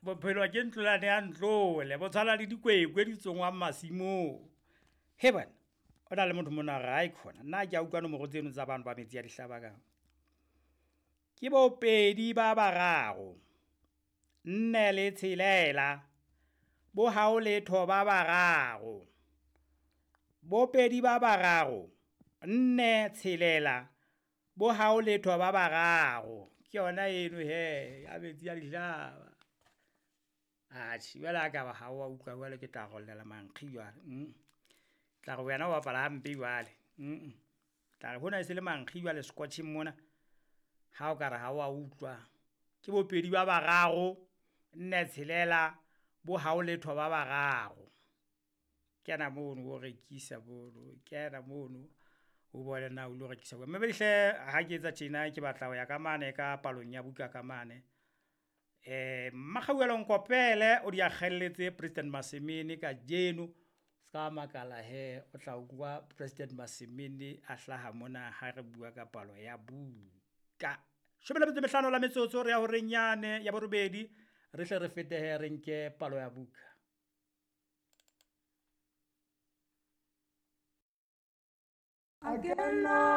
Bophelo ke ntlolane ya ntlole, bo tshwana le dikwekwe di tsongwang masimong. He bana, o na le motho mona a re aikhona, nna ha ke a utlwa nomoro tseno tsa bano ba metsi a dihlaba ka. Ke bo 2 ba 3, 4 le 6, bo hao letho ba 3. Bo 2 ba 3, 4 6, bo hao letho ba 3. Ke yona eno he, ya metsi a dihlaba. Atjhe, jwale ha ka ba ha wa utlwa jwale ke tla rollela mankgi jwale. Tla re wena o bapala hampe jwale. Tla re hona e se le mankgi jwale scotcheng mona. Ha o ka re ha wa utlwa. Ke bo 2 ba 3, 4 6, bo hao letho ba 3. Kena mono o rekisa mono, kena mono o bone na o lo rekisa. Mme hle ha ke etsa tjena ke batla ho ya ka mane ka palong ya buka ka mane. Mmakgauwelo Nkopele o di akgelletse President Masemene kajeno. Ska makala he, o tla utlwa President Masemene a hlaha mona ha re bua ka palo ya buka. 15 la metsotso re ya horeng yane ya borobedi, re hle re fete he re nke palo ya buka. A kena